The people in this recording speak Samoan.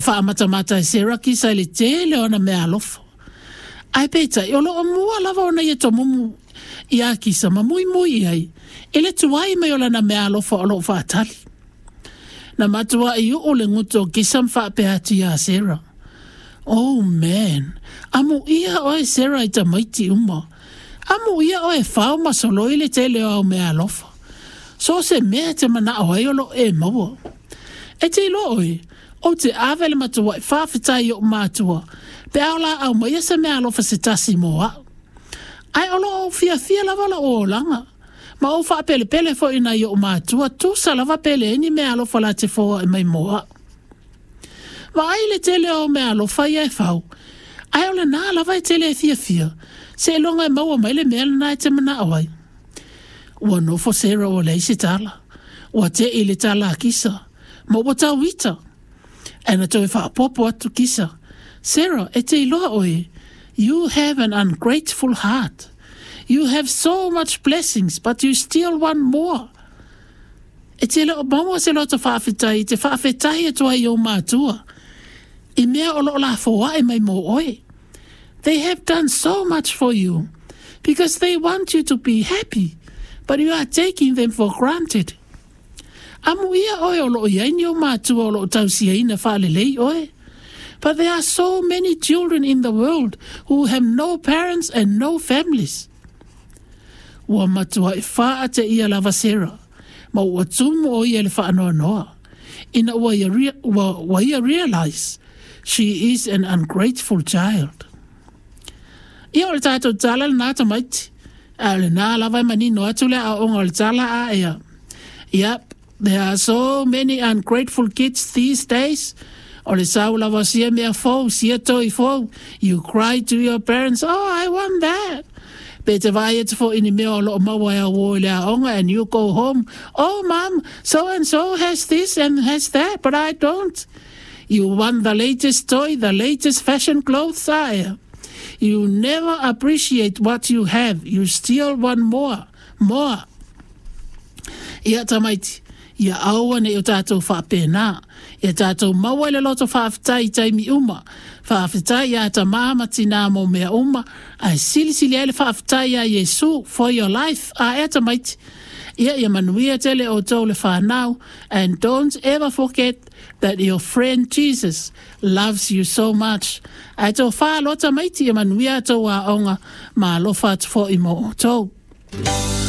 Faamatamata e Sarah Kisa i le tele o ana meaalofa. Ae peitai, o lo o mua lava ona ia tomumu iā Kisa ma muimui i ai i le tuai mai o lana meaalofa o lo o faatali. Na matuai uu le gutu o Kisa ma faapea atu iā Sarah, Oh man, amuia oe Sarah i tamaiti uma. Amuia oe e fao ma soloi le tele o au meaalofa. So o se mea e te manao ai o lo o e maua. E te iloa oe, ou te ave le matuai faafetai i o'u matua pe a o la aumaia se meaalofa se tasi mo a'u. Ae o lo o ou fiafia lava lo'u olaga, ma ou faapelepele foi i nai o'u matua tusa lava pe leai ni meaalofa la te foa'i mai mo a'u. Vaai i le tele o au meaalofa ia e fau, ae o lenā lava e te le fiafia, seiloga e maua mai le mea lenā e te manao ai. Ua nofo Sarah ua leai se tala. Ua te'i i le tala a Kisa, ma ua tau ita. Ae na toe faaopoopo atu Kisa, Sarah, e te iloa oe, you have an ungrateful heart. You have so much blessings but you still want more. E te le o maua se loto faafetai e te faafetahi atu ai i ou matua i mea o lo o lafoaʻi mai mō oe. They have done so much for you because they want you to be happy but you are taking them for granted. Amuia oe o lo o i ai ni ou matua o lo o tausiaina faalelei oe. But there are so many children in the world who have no parents and no families. Ua matuai faateia lava Sarah, ma ua tumu ʻo ia i le faanoanoa, ina ua ia, ua, ua ia realize she is an ungrateful child. Ia, o le tatou tala lenā tamaiti, ae o lenā lava e manino atu le aoaoga o le tala a ea. Yep, there are so many ungrateful kids these days. O le sau lava o sia mea fou, sia toi fou, you cry to your parents, oh, I want that. Pe te vaai atu foi i ni mea o lo o maua e au uo i le aoga and you go home, oh mum, so and so has this and has that, but I don't. You want the latest toy, the latest fashion clothes, aea. You never appreciate what you have, you still want more, more. Ia tamaiti, ia aua ne i o tātou faapēnā. Ia tātou maua i le loto faafetai i taimi uma. Faafetai iā tamā ma tinā mō mea uma, ae silisili ai le faafetai iā Iesu for your life, aea tamaiti. Ia, ia manuia tele outou le whanau, and don't ever forget that your friend Jesus loves you so much. Ae tō whā loa tamaiti, ia manuia a tou aoga, ma alofa atu fo'i mō outou.